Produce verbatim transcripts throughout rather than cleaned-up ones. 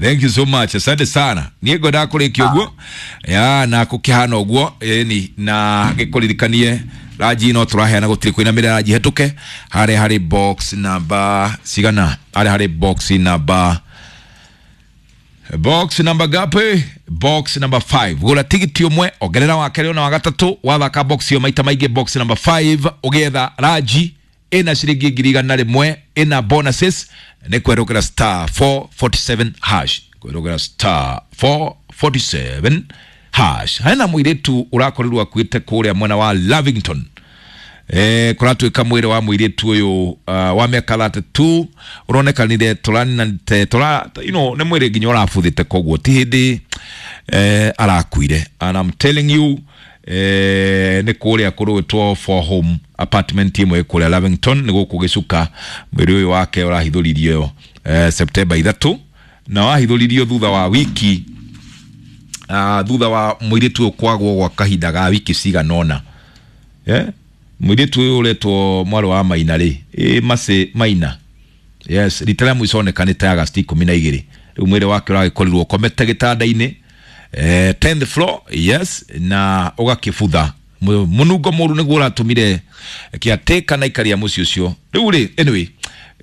Thank you so much, asante sana. Niä ngwendaga kå rä kia å guo ya na kå kä hana å guo ĩni na gä kå ririkanie ranji no tå raheana gå tirä kwä na mä ranji hetå ke harä harä box number cigana harä harä box number box number gapi box number five gura tigiti ũmwe ongerera wa kerĩ ona wa gatatũ wathaka box ĩyo maita maingĩ box number five ũgĩetha ranji ĩna ciringi ngiri igana rĩmwe ĩna bonuses nĩ kwerũkĩra star four forty-seven hash kwerũkĩra star four forty-seven hash. Hena mũirĩtu ũrakorirwo akuĩte kũrĩa mwena wa Lavington. Eh, kũratuĩka mwĩrĩ wa mũirĩtu ũyũ uh, wa mĩaka thirty-two ũronekanire tũranite tũra you know nĩ mwĩrĩ nginya ũrabuthĩte koguo ti hĩndĩ eh, arakuire and I'm telling you eh, nĩ kũrĩa kũrũĩtwo for home apartment ĩmwe kũrĩa Lavington nĩ gũkũ gĩcuka mwĩrĩ ũyũ wake ũrahithũririo eh, September ithatũ na wahithũririo thutha wa wiki uh, thutha wa mũirĩtu ũyũ kwagwo gwa kahinda ga wiki cigana ũna. Yeah? Mũirĩtu ũyũ ũretwo mwarĩ wa Maina rĩ ĩ Mercy Maina yes rita rĩa mũico onekanĩte Agosti ikũmi na igĩrĩ rĩu mwĩrĩ wake ũragĩkorirwo ũkomete gĩtanda-inĩ eh, tenth floor yes na ũgakĩbutha mũnungo mũru nĩguo ũratũmire kĩatĩka na ikaria mũciĩ ũcio rĩu rĩ anyway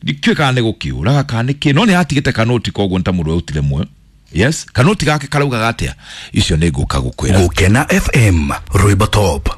ndikĩũĩ kana nĩ gũkĩũraga kana nĩ kĩ no nĩ atigĩte kanoti koguo nĩ ta mũndũ autire muoyo yes kanoti gake karaugaga atĩa icio nĩ ngũka gũkwĩra. Gukena F M Rwimbo Top.